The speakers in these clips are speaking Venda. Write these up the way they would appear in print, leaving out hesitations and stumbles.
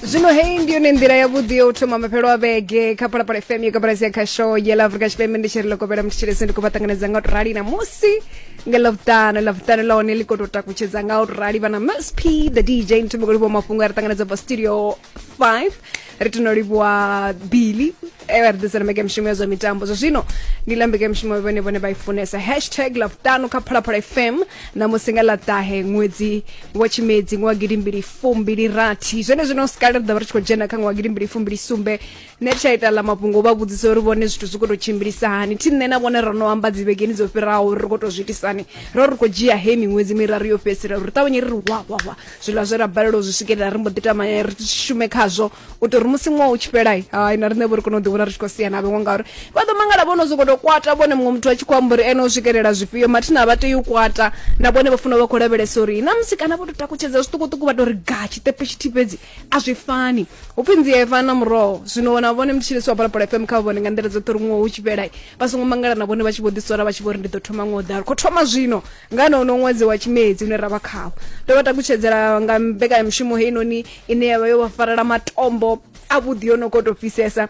Zwino heyi ndi yone nḓila yavhuḓi yo u thoma mafhelo a vhege kha Phalaphala FM yo kabalasi ya khasho ya ḽa Afrika Tshipembe. Ndi tshi ri lokovhela mutshilesi, ndi khou vha ṱanganedza nga u to rali na musi nga Ḽavhuṱanu. Ḽavhuṱanu ḽa hone ḽi khou tou takutshedza nga u to rali vha na Miss P the DJ Nthumbo khou livhuwa mafhungo a ri ṱanganedza bva studio 5. Ri tino livhuwa Billy e vha ri ḓisela mbekanyamushumo ya zwa mitambo. Zwa zwino ndi ḽa mbekanyamushumo vhone vhone vha i funesa hashtag Ḽavhuṱanu kha Phalaphala FM ṋamusi nga ḽa ṱahe ṅwedzi wa Tshimedzi ṅwaha 2026. Zwene zwino sikale ri ḓo vha ri tshi khou dzhena kha ṅwaha 2027. Nṋe thi tsha ita ḽa mafhungo vha vhudzisa uri vhone zwithu zwi khou tou tshimbilisa hani. Thi nṋe na vhone ro no amba dzivhegeni dzo fhiraho uri ri khou tou zwi itisani, ro ri khou dzhia he miṅwedzi miraru yo fhedzisela uri ri ṱavhanye ri ri wa wa wa zwiḽa zwe ra balelwa u zwi swikelela ri mbo ḓi tama ri shume khazwo u ita uri musi ṅwaha u tshi fhela hai na riṋe vho ri kone u ḓivhona ri tshi khou sia na vhaṅwe, ngauri vha ḓo mangala vho no sokou tou kwata vhone muṅwe muthu a tshi khou amba uri ene o swikelela zwifhio. Mathina vha tea u kwata na vhone, vha funa vha khou lavhelesa uri na musi kana vho tou takutshedza zwiṱukuṱuku vha tou ri ga tshiṱepe tshithihi fhedzi a zwi fani. Hu pfhi nzie i fana na muroho. Zwino na vhone mutshilisi wa Phalaphala FM kha vhone nga nḓila dzoṱhe uri ṅwaha u tshi fhela vha songo mangala na vhone vha tshi vho ḓisola vha tshi vho ri ndi ḓo thoma ṅwaha u ḓaho. Ri khou thoma zwino nga hono ṅwedzi wa Tshimedzi une ra vha khawo. Ndo vha takutshedzela nga mbekanyamushumo heinoni ine ya vha yo vha farela matombo avhuḓi yo no khou tou fhisesa.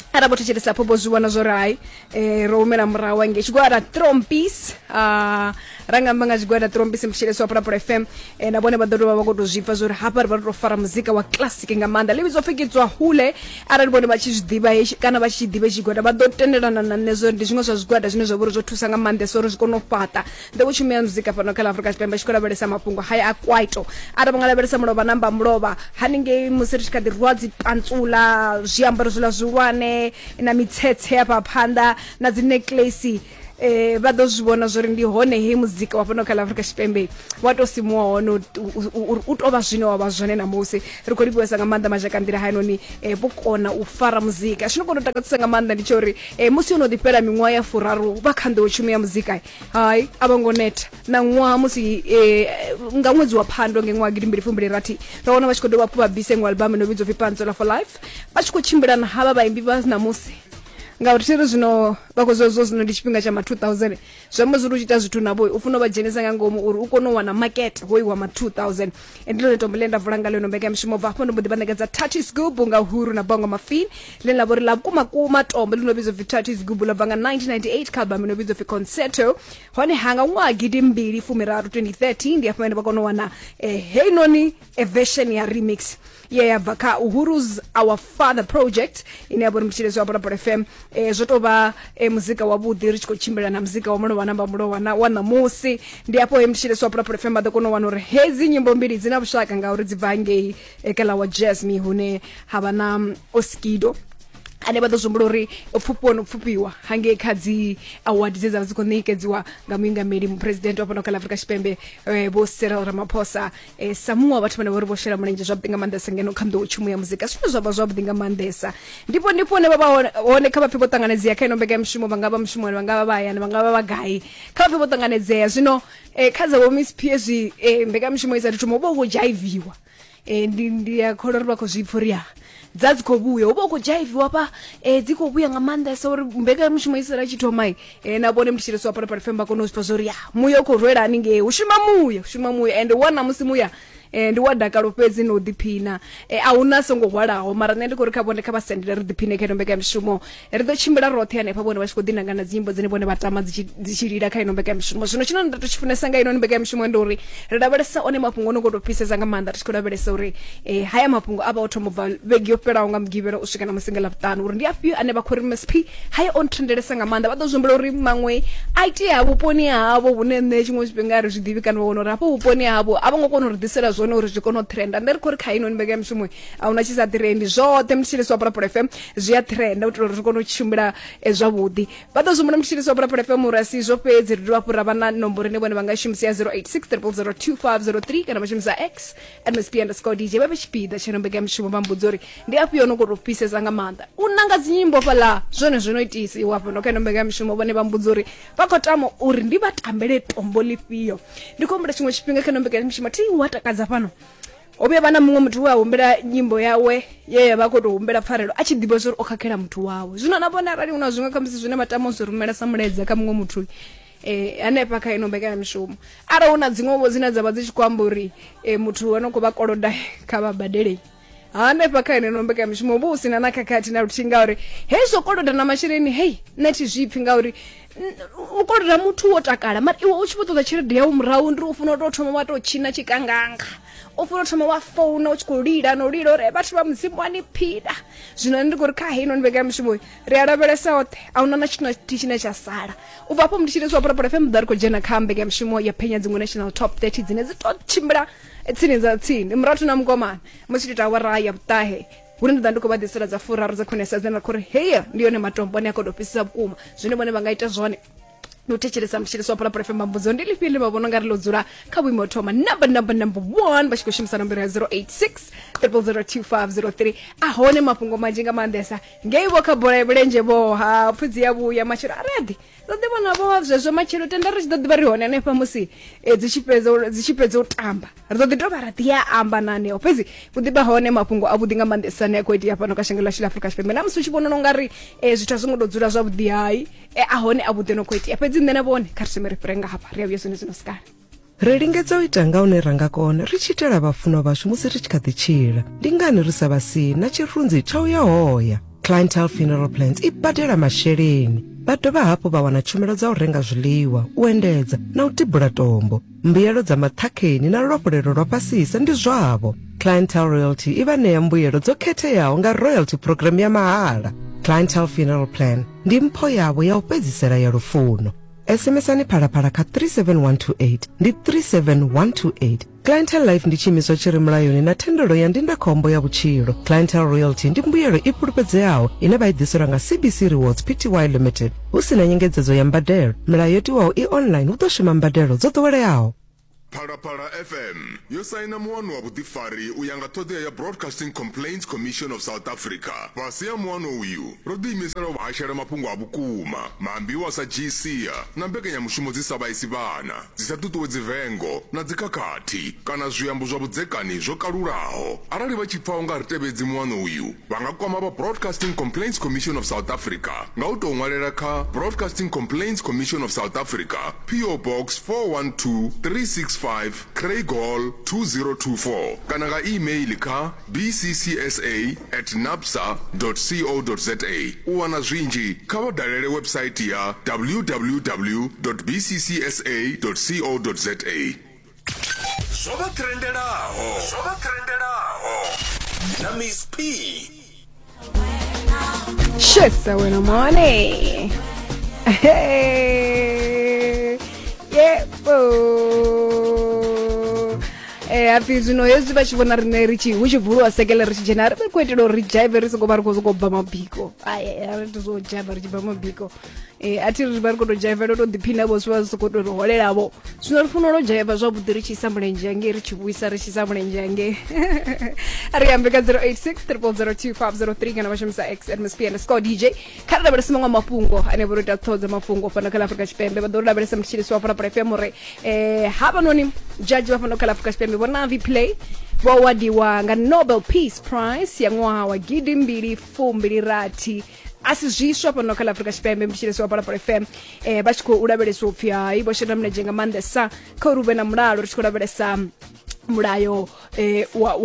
Arali vho thetshelesa phopo zwi vhona zwo ri hai ro humela murahu hangei tshigwada Trompis, ra nga amba nga tshigwada Trompis mthetshelesi wa Phalaphala FM, na vhone vha ḓo dovha vha khou tou zwi pfa zwo ri hafha ri vha ri tou fara muzika wa classic nga maanḓa ḽi vhidzwa pfi Kidzwa Hule. Arali vhone vha tshi zwi ḓivha hetshi kana vha tshi ḓivha tshigwada vha ḓo tendelana na nṋe zwo ri ndi zwiṅwe zwa zwigwada zwine zwa vha uri zwo thusa nga maanḓesa uri zwi kone u fhaṱa nḓowetshumo ya muzika fhano kha ḽa Afrika Tshipembe. Tshi khou lavhelesa mafhungo haya a kwaito, arali vha nga lavhelesa mulovha namba mulovha haningei musi ri tshi kha ḓi rwa dzi pantsula zwiambaro zwiḽa zwihulwane na mitsetse hafha phanḓa na dzi necklace, vha ḓo zwi vhona zwori ndi hone he muzika wa fhano kha ḽa Afrika Tshipembe wa to simuwa hone uri u tou vha zwine wa vha zwone ṋamusi. Ri khou livhuwesa nga maanḓa mazhakanḓila hainoni, vho kona u fara muzika. Tshino kona u takadzisa nga maanḓa ndi tsha uri musi yo no ḓi fhela miṅwaha ya furaru vha kha nḓowetshumo ya muzika, hai a vho ngo neta na ṅwaha. Musi nga ṅwedzi wa Phando nge ṅwaha 2026 ra wana vha tshi khou dovha hafhu vha bvisa iṅwe album ino vhidzwa pfi Pantsula for Life, vha tshi khou tshimbila na havha vhaimbi vha ṋamusi, ngauri thi ri zwino vha khou zwa zwino ndi tshifhinga tsha ma 2000. Zwi amba zwori u tshi ita zwithu navho u funa u vha dzhenisa nga ngomu uri u kone u wana makete hoyu wa ma 2000. Ndi ḽone tombo ḽe nda vula nga ḽino mbekanyamushumo. Bva hafho ndo mbo ḓi vha ṋekedza Thathi Sigubu nga Uhuru na Bongo Mafin, ḽine ḽa vha uri ḽa vhukuma kuma tombo ḽi no vhidzwa pfi Thathi Sigubu ḽo bva nga 1998 kha album ino vhidzwa pfi Concerto. Hone ha nga ṅwaha 2013 2013 ndi hafho vhane vha kona u wana heinoni version ya remix ye ya bva kha Uhuru's Our Father project ine ya vha uri mutshilesi wa Phalaphala FM. Zwo tou vha muzika wavhuḓi ri tshi khou tshimbila na muzika wa mulovha namba mulovha na wa ṋamusi. Ndi hafho he mutshilesi wa Phalaphala FM vha ḓo kona u wana uri hedzi nyimbo mbili dzi na vhushaka ngauri dzi bva ngei kha ḽa wa Jasmine hune ha vha na Oskido ane vha ḓo zwi humbula uri o pfufhiwa no pfufhiwa hangei kha dzi award dze dza vha dzi khou ṋekedziwa nga muingameli muphuresidennde wa fhano kha ḽa Afrika Tshipembe, Vho Cyril Ramaphosa, sa muṅwe wa vhathu vhane vha uri vho shela mulenzhe zwavhuḓi nga maanḓesa ngeno kha nḓowetshumo ya muzika, zwine zwa vha zwavhuḓi nga maanḓesa. Ndipo ndipo hune vha vha hone kha vhapfhi vho ṱanganedzea kha ino mbekanyamushumo, vha nga vha mushumoni, vha nga vha vha hayani, vha nga vha vha gai, kha vhapfhi vho ṱanganedzea. Zwino kha dza vho Miss P hezwi mbekanyamushumo i sa thu thoma hu vha hu khou dzhaiviwa. Ndi a kholwa uri vha khou zwi pfa uri ya dza dzi khou vhuya, hu vha hu khou dzhaiviwa hafha, dzi khou vhuya nga maanḓesa uri mbekanyamushumo i sala tshi thoma, na vhone mutshilisi wa Phalaphala FM vha kone u zwi pfa zwa uri ya muya u khou rwela haningei, hu shuma muya, hu shuma muya ende wa ṋamusi muya ndi wa dakalo fhedzi no ḓiphina, a huna songo hwalaho. Mara nṋe ndi khou ri kha vhone kha vha sendele ri ḓiphine kha ino mbekanyamushumo. Ri ḓo tshimbila roṱhe hanefha vhone vha tshi khou ḓi nanga na dzinyimbo dzine vhone vha tama dzi tshi lila kha ino mbekanyamushumo. Zwino tshine nda to tshi funesa nga ino mbekanyamushumo ndi uri ri lavhelesa one mafhungo ono khou tou fhisesa nga maanḓa, ri tshi khou lavhelesa uri haya mafhungo a vha o thoma u bva vhege yo fhelaho nga Mugivhela u swika na musi nga Ḽavhuṱanu, uri ndi afhio ane vha khou ri MSP haya o nthendelesa nga maanḓa. Vha ḓo zwi humbula uri maṅwe a itea vhuponi havho hune nṋe tshiṅwe tshifhinga ri zwi ḓivhi, kana vha wana uri hafho vhuponi havho a vho ngo kona u ri ḓisela zwone uri zwi kone u trenda. Nṋe ri khou ri kha ino mbekanyamushumo a huna tshi sa trendi, zwoṱhe mutshilisi wa Phalaphala FM zwi a trenda u itela uri ri kone u tshimbila zwavhuḓi. Vha ḓo zwi humbula mutshilisi wa Phalaphala FM uri a si izwo fhedzi, ri dovha hafhu ra vha na nomboro ine vhone vha nga shumisa ya 086 000 2503 kana vha shumisa X @msp_dj. Vha vhe tshipiḓa tsha ino mbekanyamushumo vha mbudza uri ndi afhio no khou tou fhisesa nga maanḓa u nanga dzinyimbo fhaḽa, zwone zwo no itisiwa hafha kha ino mbekanyamushumo. Vhone vha mbudza uri vha khou tama uri ndi vha tambele tombo ḽifhio. Ndi khou humbula tshiṅwe tshifhinga kha ino mbekanyamushumo thi wa takadza fhano ho vhuya vha na muṅwe muthu we a humbela nyimbo yawe ye ya vha khou tou humbela pfarelo a tshi ḓivha zwa uri o khakhela muthu wawe. Zwino na vhone arali hu na zwiṅwe khamusi zwine vha tama u zwi rumela sa mulaedza kha muṅwe muthu hanefha kha ino mbekanyamushumo, arali hu na dziṅwe vho dzine dza vha dzi tshi khou amba uri muthu ano khou vha koloda kha vha badele. Hanefha kha heneno mbekanyamushumo hu vha hu si na na khakhathi na luthihi, ngauri hezwo koloda na masheleni hei nṋe thi zwi pfhi, ngauri u koloda muthu wo takala mara iwe u tshi vho ṱoḓa tshelede yau murahu, ndi u funa u tou thoma wa tou tshina tshikanganga, u funa u thoma wa founa u tshi khou lila na u lila uri vhathu vha Mudzimu a ni phila. Zwino nṋe ndi khou ri kha heinoni mbekanyamushumo ri a lavhelesa oṱhe, a huna na tshithu na tshithihi tshine tsha sala. U bva hafho mutshilisi wa Phalaphala FM ḓa ri khou dzhena kha mbekanyamushumo ya phenya dziṅwe national top 30 dzine dzi to tshimbila tsini dza tsini murathu na mukomana musi tshi ita awara ya vhuṱahe, hune ndi ḓa ndi khou vha ḓisela dza furaru dza khwinesa dzine ra khou ri heya ndi yone matombo ane a khou tou fhisisa vhukuma. Zwine vhone vha nga ita zwone ndi u thetshelesa mutshilisi wa Phalaphala FM. Mbudzo ndi lifhio ḽine vha vhona ungari ḽo dzula kha vhuimo thoma number 1 vha tshi khou shumisa nomboro ya 086 0002503. A hone mafhungo manzhi nga maanḓesa ngei vho kha bola ya milenzhe vho ha pfudzi ya vhuya matshelo a reḓi ḓo ḓi vhona vho zwezwo matshelo, tenda ri tshi ḓo ḓivha ri hone hanefha musi dzi tshi fhedza dzi tshi fhedza u tamba, ri ḓo ḓi dovha ra ḓi ya amba na haneo. Fhedzi hu ḓi vha hone mafhungo a vhuḓi nga maanḓesa ane a khou itea fhano kha shango ḽashu ḽa Afrika Tshipembe, na musi u tshi vhona u nga ri zwithu a zwo ngo tou dzula zwavhuḓi, hai a hone a vhuḓi no khou itea. Fhedzi nṋe na vhone kha ri thome ri fhire nga hafha, ri a vhuya zwone zwino sikale. Ri lingedza u ita nga hune ra nga kona ri tshi itela vhafunwa vhashu musi ri tshi kha ḓi tshila. Ndi ngani ri sa vha sii na tshirunzi tsha u ya hoya? Clientele Funeral Plans i badela masheleni. Vha dovha hafhu vha wana tshumelo dza u renga zwiḽiwa, u endedza na u tibula tombo. Mbuyelo dza maṱhakheni na luafhulelo lwa fhasisa ndi zwavho. Clientele Royalty i vha ṋea mbuyelo dzo khetheaho nga royalty program ya mahala. Clientele Funeral Plan ndi mpho yavho ya u fhedzisela ya lufuno. SMSani Phalaphala kha 37128, ndi 37128. Clientele Life ndi tshiimiswa tshi re mulayoni na thendelo ya ndindakhombo ya vhutshilo. Clientele Royalty ndi mbuyelo i fhulufhedzeaho ine vha i ḓiselwa nga CBC Rewards Pty Limited hu si na nyengedzedzo ya mbadelo. Milayo yo tiwaho i online, hu ḓo shuma mbadelo dzo ḓoweleaho. Phalaphala FM yo saina muano wa vhuḓifari u ya nga ṱhoḓea ya Broadcasting Complaints Commission of South Africa. Fhasi ha muano uyu, ro ḓiimisela u vha hashela mafhungo a vhukuma, maambiwa a sa dzhii sia na mbekanyamushumo dzi sa vhaisi vhana, dzi sa ṱuṱuwedzi vengo na dzikhakhathi kana zwiambo zwa vhudzekani zwo kalulaho. Arali vha tshi pfa u nga ri tevhedzi muano uyu, vha nga kwama vha Broadcasting Complaints Commission of South Africa nga u tou ṅwalela kha Broadcasting Complaints Commission of South Africa, PO Box 412365, Craighall 2024, kana nga e-mail kha bccsa at nabsa co za. U wana zwinzhi, kha vha dalele website ya www bccsa co za. Zwo vha trendelaho, zwo vha trendelaho na Miss P. Shesa wena mone. Hey. Yebo. Eh hapfi zwino hezwi vha tshi vhona riṋe ri tshi hu tshi vuliwa sekele ri tshi dzhena, ri vha khou itela uri ri dzhaive ri songo vha ri khou sokou bva mabiko. Ai a ri zwo dzhaiva ri tshi bva mabiko. Eh a thi ri vha ri khou tou dzhaivela u tou ḓiphina vho zwi vha zwi sokou tou ri holela vho. Zwino ri funa u dzhaiva zwavhuḓi ri tshi isa mulenzhe hangei, ri tshi vhuisa ri tshi isa mulenzhe hangei. Ri ambe kha 086 0002503 kana vha shumisa x at msp underscore dj. Kha ri lavhelese maṅwe mafhungo ane vho ri ita ṱhoho dza mafhungo fhano kha ḽa Afrika Tshipembe. Vha ḓo ri lavhelesa mutshilisi wa Phalaphala FM uri havhanoni judge vha fhano kha ḽa Afrika Tshipembe Vho Navi Pillay vho awadiwa nga Nobel Peace Prize ya ṅwaha wa 2026. A si zwiswa fhano kha ḽa Afrika Tshipembe, mutshilisi wa Phalaphala FM, vha tshi khou lavheleswa upfhi hai vho shela mulenzhe nga maanḓesa kha uri hu vhe na mulalo, ri tshi khou lavhelesa mulayo wa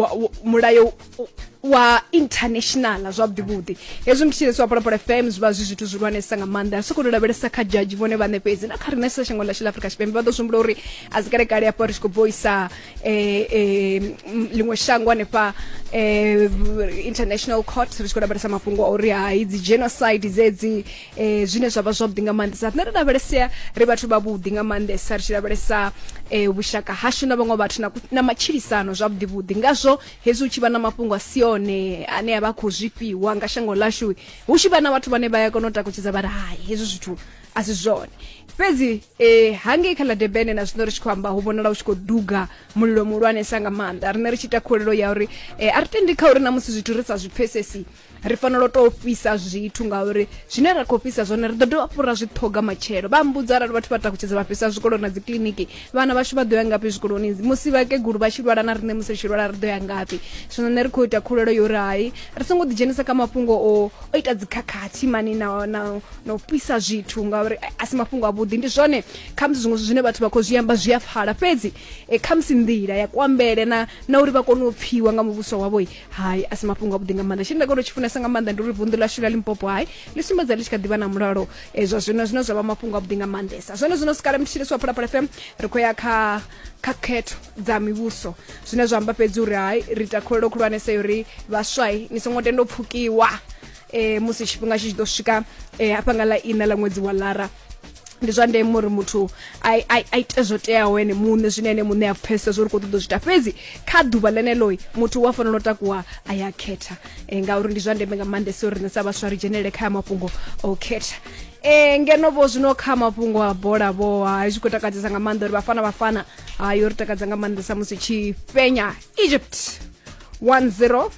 mulayo wa international zwavhuḓi vhuḓi. Hezwi mutshilisi wa Phalaphala FM zwi vha zwi zwithu zwihulwanesa nga maanḓa, ri sokou tou lavhelesa kha judge vhone vhaṋe fhedzi na kha riṋe sa shango ḽashu ḽa Afrika Tshipembe. Vha ḓo zwi humbula uri a si kale kale hafha ri tshi khou bvoisa ḽiṅwe shango hanefha international court, ri tshi khou lavhelesa mafhungo a uri hai dzi genocide dzedzi, zwine zwa vha zwavhuḓi nga maanḓesa. Riṋe ri lavhelesea ri vhathu vhavhuḓi nga maanḓesa, ri tshi lavhelesa vhushaka hashu na vhaṅwe vhathu na matshilisano zwavhuḓi vhuḓi. Ngazwo hezwi hu tshi vha na mafhungo a si one ane a vha khou zwifhiwa nga shango ḽashu, hu tshi vha na vhathu vhane vha ya kona u takutshedza vha ri hai hezwi zwithu a si zwone. Fhedzi hangei kha ḽa Durban na zwino ri tshi khou amba hu vhonala hu tshi khou duga mulilo muhulwanesa nga maanḓa. Riṋe ri tshi ita khuwelelo ya uri a ri tendi kha uri na musi zwithu ri sa zwi pfesesi Ri fanela u tou fhisa zwithu ngauri zwine ra khou fhisa zwone ri ḓo dovha hafhu ra zwi ṱhoga matshelo. Vha mbudza arali vhathu vha takutshedza vha fhisa zwikolo na dzi kiḽiniki, vhana vhashu vha ḓo ya ngafhi zwikoloni? Musi vhakegulu vha tshi lwala na riṋe musi ri tshi lwala ri ḓo ya ngafhi? Zwino nṋe ri khou ita khulelo yo uri hai ri songo ḓidzhenisa kha mafhungo o o ita dzikhakhathi mani na, na, na u fhisa zwithu ngauri a si mafhungo avhuḓi. Ndi zwone khamusi zwiṅwe zwithu zwine vhathu vha khou zwi amba zwi a pfala, fhedzi e, khamusi nḓila ya kuambele na, na uri vha kone u pfiwa nga muvhuso wavho hai a si mafhungo avhuḓi nga maanḓa. Tshine nda kona u tshi funesa nga maanḓa ndi uri vunḓu ḽashu ḽa Limpopo hai ḽi sumbedza ḽi tshi kha ḓivha na mulalo e, zwa zwino, zwine zwa vha mafhungo avhuḓi nga maanḓesa. Zwone zwino sikale mthetshelesi wa Phalaphala FM, ri khou ya kha kha khetho dza mivhuso, zwine zwa amba fhedzi uri hai ri ita khuwelelo khulwanesa ya uri vhaswai ni songo tenda u pfukiwa e, musi tshifhinga tshi tshi ḓo swika e, hafha nga ḽa ina ḽa ṅwedzi wa Lara. Ndi zwa ndeme uri muthu a ite zwo teaho ene muṋe, zwine ene muṋe a pfesesa zwo uri khou ṱoḓa u zwi ita, fhedzi kha ḓuvha ḽeneḽo muthu u a fanela u takuwa a ya khetha e, ngauri ndi zwa ndeme nga maanḓesa uri riṋe sa vhaswa ri dzhenelele kha mafhungo o khetha. E, ngeno vho zwino kha mafhungo a bola vho hai zwi khou takadzesa nga maanḓa uri Bafana Bafana hai yo ri takadza nga maanḓesa musi tshi fhenya Egypt 1-0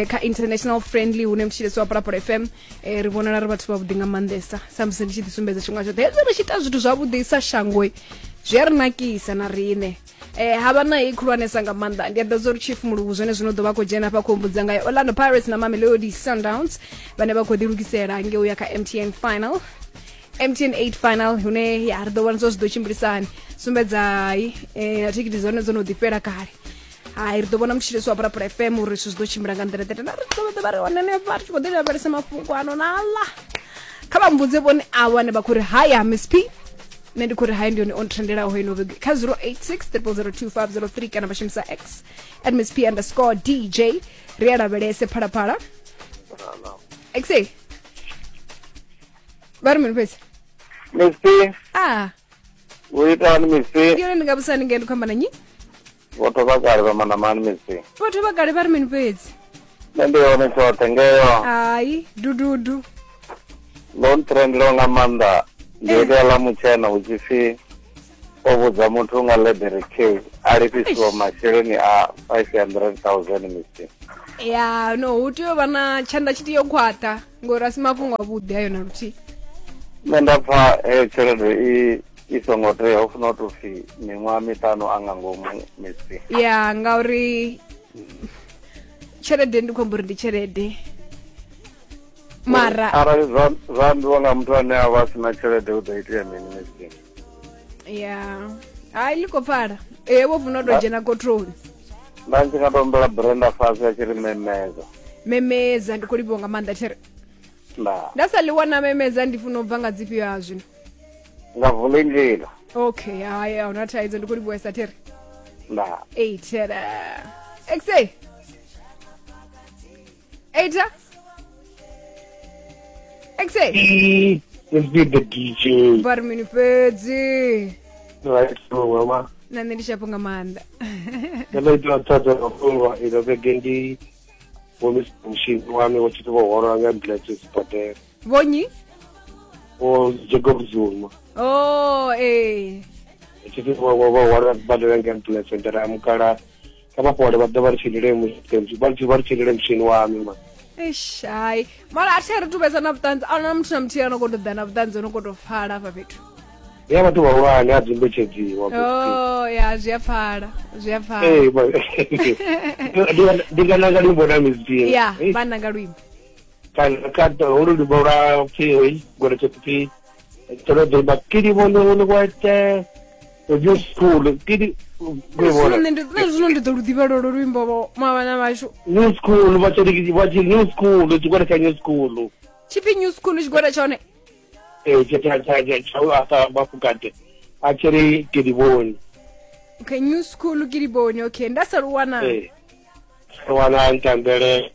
kha international friendly hune mutshilesi wa Phalaphala FM. Ri vhonala ri vhathu vhavhuḓi nga maanḓesa sa musi ndi tshi ḓi sumbedza tshifhinga tshoṱhe hezwi ri tshi ita zwithu zwavhuḓi sa shangoi zwi a ri nakisa na riṋe. Havha na i khulwanesa nga maanḓa ndi a ḓadza uri Chief Muluvhu zwone zwino ḓo vha khou dzhena hafha khou humbudza ngayo Orlando Pirates na Mamelodi Sundowns vhane vha khou ḓilugisela ngei uya kha MTN final, MTN 8 final, hune ya ri ḓo vhona zwa zwi ḓo tshimbilisani sumbedzai na thikhithi dzone dzo no ḓi fhela kale. Hai ri ḓo vhona mutshilesi wa Phalaphala FM uri zwithu zwi ḓo tshimbila nga nḓila ḓe, na ri ḓo vha ri hone hanefha ri tshi khou ḓi lavhelesa mafhungo ano na aḽa. Kha vha mbudze vhone avho vhane vha khou ri haya Miss P, nṋe ndi khou ri hai ndi yone on trendelaho ino vhege kha 086 0002503 kana vha shumisa X at Miss P underscore DJ. Ri a lavhelese Phalaphala X vha ri mini fhedzi Miss P, ah u itani Miss P? Ndi yone ndi nga vhusani ngei ndi khou amba na nnyi? Vhotho vha kale vha manamani Miss P. Vhathu vha kale vha ri mini fhedzi? Nṋe ndi hone tshoṱhe ngeyo. Hai dududu Ndo ntrendelaho nga maanḓa ndi heḽia ḽa mutshena hu tshi pfi o vhudza muthu nga ḽeḓere K a lifhisiwa masheleni a 500,000 Miss P. Ya no hu tea u vha na tshanḓa tshi tea u khwaṱha ngori a si mafhungo avhuḓi ayo na luthihi. Nṋe nda pfa heyo tshelede i i songo tea, hu funa u tou pfi miṅwaha miṱanu a nga ngomu Miss P. Ya ngauri tshelede ndi khou amba uri ndi tshelede mara arali zwa zwa ambiwa nga muthu ane a vha a sina tshelede hu ḓo itea mini Miss P? Ya hai ḽi khou pfala ee vho funa u tou dzhena khothoni. Nda ndi nga to humbela Brenda fhasi a tshi ri memeza. Memeza ndi khou livhuwa nga maanḓa there. Nda Nda sa ḽi wana memeza ndi funa u bva nga dzifhio ha zwino? Nga vulindlela. Okay hai a huna thaidzo ndi khou livhuwesa there. Nda Eitera xa eita xa Let's be the DJ. Vha ri mini fhedzi? Right, so mama. Na nṋe ndi shapo nga maanḓa. Nṋe ndo ita mafhungo ino vhege ndi vho Mr. Mushini wami vho tshi vho hwalwa nga ambulance sibadela. Vhonyi? Vho Jacob Zuma. Oh, eh. Tshi vho vho hwalwa sibadela nga ambulance ndara mukala kha vha fhole vha ḓo vha ri tshilele musi vha tshi vha ri tshilele mutshini wami ma. Eish, hai. Mara a thi ri tuvhesa na vhuṱanzi, a huna muthu na muthihi ano khou tou ḓa na vhuṱanzi ono khou tou pfala hafha fhethu. Ya vhathu vhahulwane a dzumbutshedziwa. Oh, ya zwi a pfala, zwi a pfala. Ee, ndi nga nanga luimbo na mizini. Ya, vha nanga luimbo. Kana ka holu luimbo lwa pfi hoi gore tsho pfi tsho ḓo imba kidi vhono vhono kwete. New school kidi Zwino nṋe ndi nṋe zwino ndi ḓo lu ḓivha lolo luimbo vho mavhana vhashu. New school vha tshi vha tshi new school tshigwada tsha new school. Tshipfi new school tshigwada tsha hone. Ee tsha tsha tsha tsha tsha u asa mafukate a tshi ri ke di bone. Okay, new school ke di bone. Okay, nda sa lu wana. Ee. Ri wana ntambele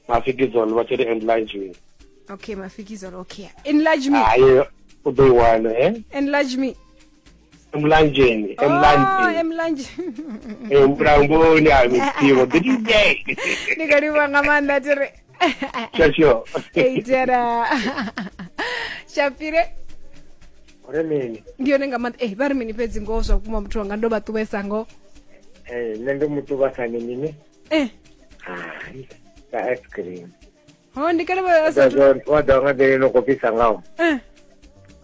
mafikizolo vha tshi ri enlarge me. Okay, mafikizolo okay. Enlarge me. Hayi u ḓo i wana eh. Enlarge me. Emlanjeni, Oh, emlanjeni. emlanjeni. Emlamboni a misiwo. The DJ. Ndi khou livhuwa nga maanḓa thi ri. Sure, sure. Eitera. Shapire. Uri mini? Ndi yone nga maanḓa. Eh, vha ri mini fhedzi ngoho zwa vhukuma muthu wanga ndo vha ṱuwesa ngoho. Eh, nṋe ndo mu ṱuvha sa mini? Eh. Hai, sa ice cream. Ho ndi kale vha sa Wa ḓa nga nḓila ino khou fhisa ngaho. Eh.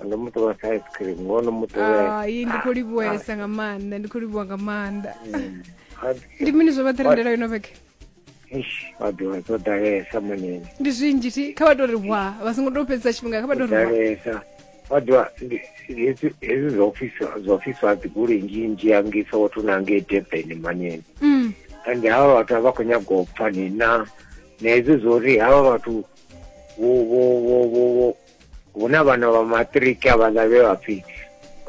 Ndo mu ṱuvha sa ice cream, ngoho ndo mu ṱuvhesa. Ai, ndi khou livhuwesa nga maanḓa, ndi khou livhuwa nga maanḓa. Ndi mini zwo vha ṱirendela ino vhege? Eish, wa ḓivha zwo ḓalesa manene. Ndi zwinzhi thi, kha vha tou ri hwa, vha songo tou fhedzisa tshifhinga, kha vha tou ri hwa. Ḓalesa. Wa ḓivha hezwi hezwi zwa ofisi zwa ofisi wa dzigoloi nnzhi nnzhi hangei Soweto na ngei Durban manene. Ende havha vhathu a vha khou nyaga u pfa ni na na hezwi zwo uri havha vhathu vho vho vho vho vho hu na vhana vha maṱiriki havhaḽa vhe vha pfhi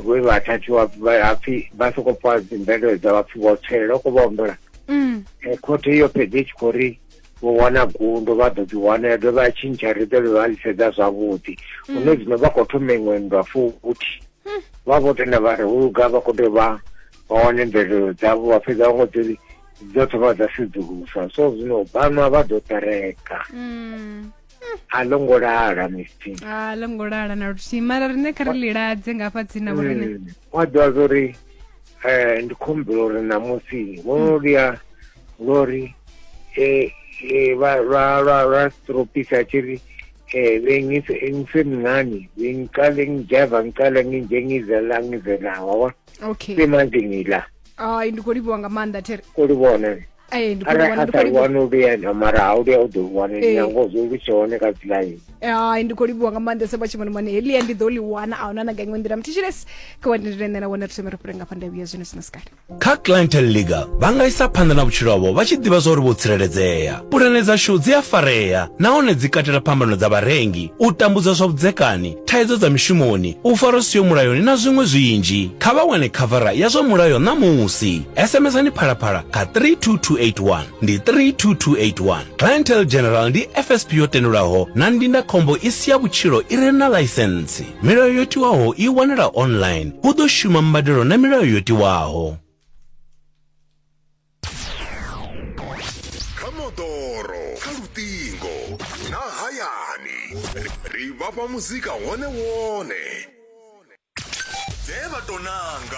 vhe vha thathiwa vha pfhi vha soko pfa dzimvelelo dza vha pfhi vho tswelela u khou vha humbela khothe iyo fhedzi i tshi khou ri vho wana gundo vha ḓo dzi wana ya dovha ya tshintsha ri ḓo vha ḽi sedza zwavhuḓi hune zwino vha khou thoma iṅwe nndwa futhi vha vho tenda vha ri hu luga vha khou tea vha vha wane mvelelo dzavho vha fhedza vha ngo dzi dzo thoma dza sedzuluswa so zwino vhanwa vha ḓo ṱereka a ḽo ngo lala misty A ḽo ngo lala na luthihi mara riṋe kha ri liladze nga hafha tsini na vhoriṋe. Wa ḓivha zwa uri um ndi khombela uri ṋamusi vho no luya lori vha lwa lwa lwa stropisa tshi ri bengise ngisemncane bengiqale ngijaiva ngiqale nginje ngize la ngize la wabona. Okay. Semanje ngila. Ai, ndi khou livhuwa nga maanḓa there. Khou livhuwa nṋe. Ee, ndi khou Arali livhuwa, a ndi khou sa livhuwa. wana u vhuya na mara ha u vhuya u ḓo wana Ee. nyango zwo lu tshe hone kha dzi line. Hai, ndi khou livhuwa nga maanḓesa vha tshimonimoni heḽia ndi ḓo ḽi wana a huna na nga iṅwe nḓila mthetshelesi kha wa ndendele nṋe na wone ri thome ri fhire nga fha nda vhuya zwino zwino sikale. Kha Clientele Legal vha nga isa phanḓa na vhutshilo havho vha tshi ḓivha zwa uri vho tsireledzea. Pulane dzashu dzi a farea nahone dzi katela phambano dza vharengi, u tambudzwa zwa vhudzekani, thaidzo dza mishumoni, u farwa zwi siho mulayoni na zwiṅwe zwinzhi. Kha vha wane khavara ya zwa mulayo ṋamusi. SMSani Phalaphala kha 32281. Ndi 32281. Clientele General ndi FSP yo tendelwaho na ndindakhombo i si ya vhutshilo i re na ḽaisentsi. Milayo yo tiwaho i wanala online. Hu ḓo shuma mbadelo na milayo yo tiwaho. Kha moḓoro, kha luṱingo na hayani, ri vha fha muzika wone wone. Dze vha tou nanga.